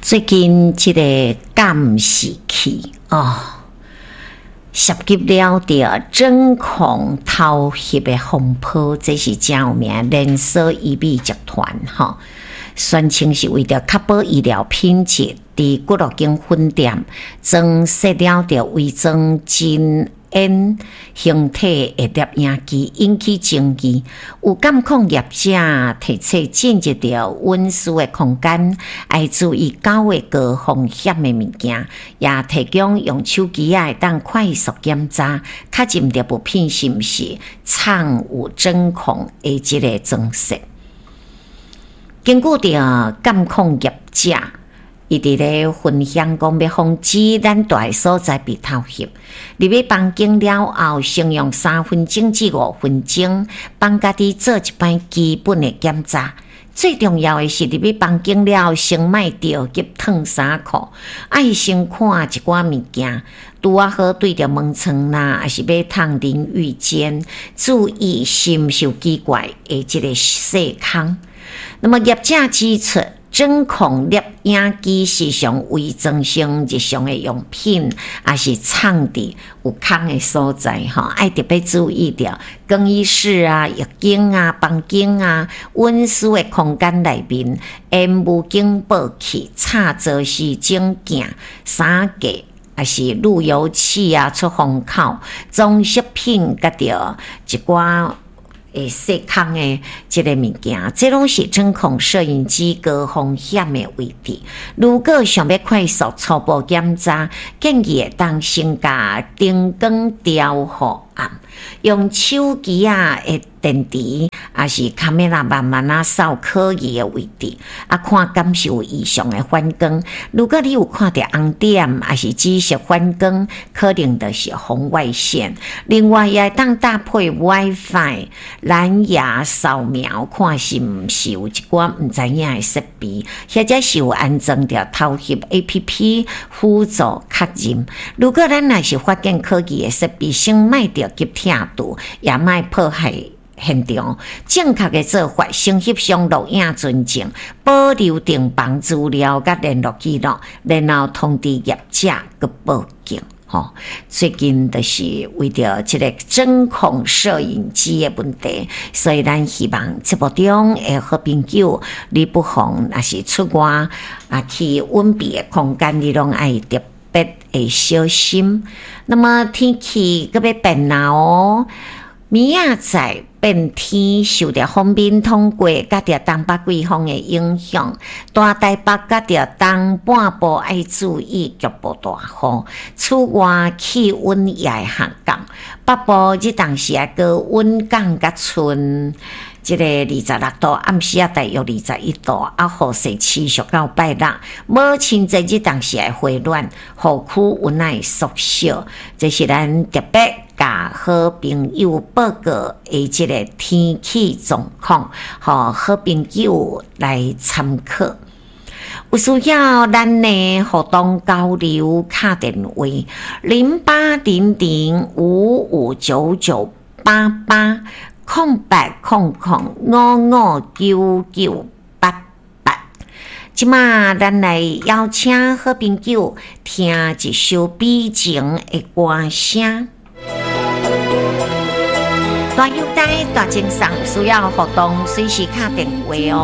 最近這个監視器哦，涉及了著針孔偷翕的風波，這是誠有名連鎖醫美集團吼，宣稱是為著確保醫療品質，佇幾落間分店裝設了著偽裝真 N 形體的攝影機，引起爭議。有監控業者提出進入著隱私的空間，愛注意九个高風險的物件，也提供用手機仔會當快速檢查，確認著物品是毋是藏有針孔的這个裝設。根據著監控業者，伊佇咧分享講，欲防止咱蹛的所在被偷翕。入去房間了後，先用3分鐘至5分鐘，幫家己做一擺基本的檢查。最重要的是，入去房間了後，先莫著急脫衫褲，愛先看一寡物件，拄仔好對著門窗啦，抑是馬桶淋浴間，注意是毋是有奇怪的這个細空。那麼業者指出，針孔攝影機時常偽裝成日常的用品，抑是藏佇有空的所在，吼，愛特別注意著更衣室啊、浴間啊、房間啊、隱私的空間內面，煙霧警報器、插座時鐘鏡、衫架，抑是路由器啊、出風口、裝飾品，佮著一寡會細空的這个物件，這攏是針孔攝影機高風險的位置。如果想欲快速初步檢查，建議會當先共燈光調予暗，用手機仔的電池，抑是卡梅拉慢慢仔掃可疑的位置，啊，看敢是有異常的反光。如果你有看著紅點，抑是紫色反光，可能就是紅外線。另外，也會當搭配 WiFi 藍牙掃描，看是毋是有一寡毋知影的設備，或者是有安裝著偷翕 APP 輔助確認。如果咱若是發現可疑的設備，先莫著急拆除，也莫破壞現場。正確的做法，先翕相錄影存證，保留訂房資料佮聯絡記錄，然後通知業者閣報警。吼，最近就是為著這个針孔攝影機的問題，所以咱希望節目中的好朋友，你不妨若是出外啊去隱蔽的空間，你攏愛特別的小心。那麼天氣閣欲變啦哦，明仔載變天，受著鋒面通過，佮著東北季風的影響，大台北佮著東半部愛注意局部大雨。此外，氣溫也會下降，北部這當時啊高溫降甲賰這个26度，暗時仔大約21度，啊，雨勢持續到拜六。母親節日當時會回暖，雨區溫會縮小。這是咱特別共好朋友報告的這个天氣狀況，予好朋友來參考。有需要咱的互動交流，敲電話0800559988，0800559988。這馬咱來邀請好朋友聽一首悲情的歌聲。大友帶大精神，需要互動，隨時敲電話哦。